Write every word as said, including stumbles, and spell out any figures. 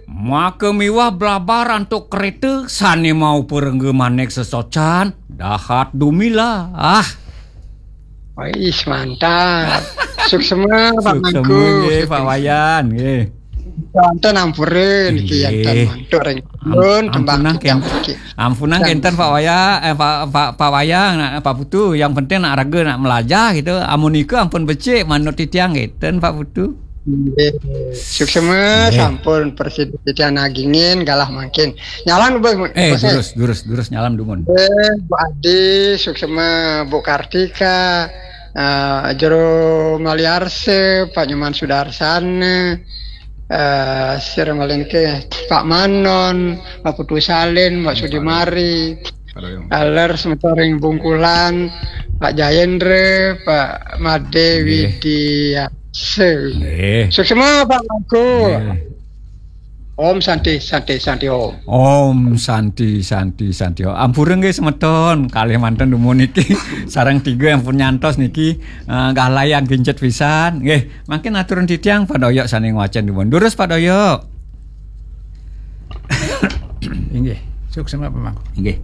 Maka miwah blabar antuk kereta, sane mau perengga manik sesocan, dahat dumilah. Ah. Wih, mantap. Suksema, Pak Mangku. Nggih, Pak Wayan, nggih. Wonten ampura niki Nggih. Enten mantuk ring Am- pun tembang ampunang tiang kenten. niki. Ampunang Sam- kenten Pak Waya, eh, Pak, Pak, Pak Wayang, nak, Pak Putu. Yang penting nak raga nak melajah gitu. Amun nika ampun becik manut titiang kenten Pak Putu. Nggih. Suksema Nggih. Sampun presiden titiang nagingin galah mangkin. Nyalan, Bos. Eh, Bos, eh. Durus, durus, durus nyalam dumun. Eh, Bu Adi, Suksema, Bu Kartika, eh, Jero Maliarse, Pak Nyoman Sudarsana, eh, sira malih niki Pak Manon, Pak Putu Salin, Pak Sudimari, Pak Doyong. Aler semeton ring Bungkulan, Pak Jayendra, Pak Made Nggih. Widiase. Nggih. Suksema, Pak Mangku. Nggih. Om Santi, Santi, Santi Om. Om Santi, Santi, Santi Om. Ampura nggih semeton, kalih manten dumun niki. Sareng tiga ampun nyantos niki, eh, galayan kincet pisan. Nggih, mangkin aturun titiang Pak Doyok sane ngwacen dumun. Durus Pak Doyok. Inggih. Suksema, Pak Mangku. Nggih.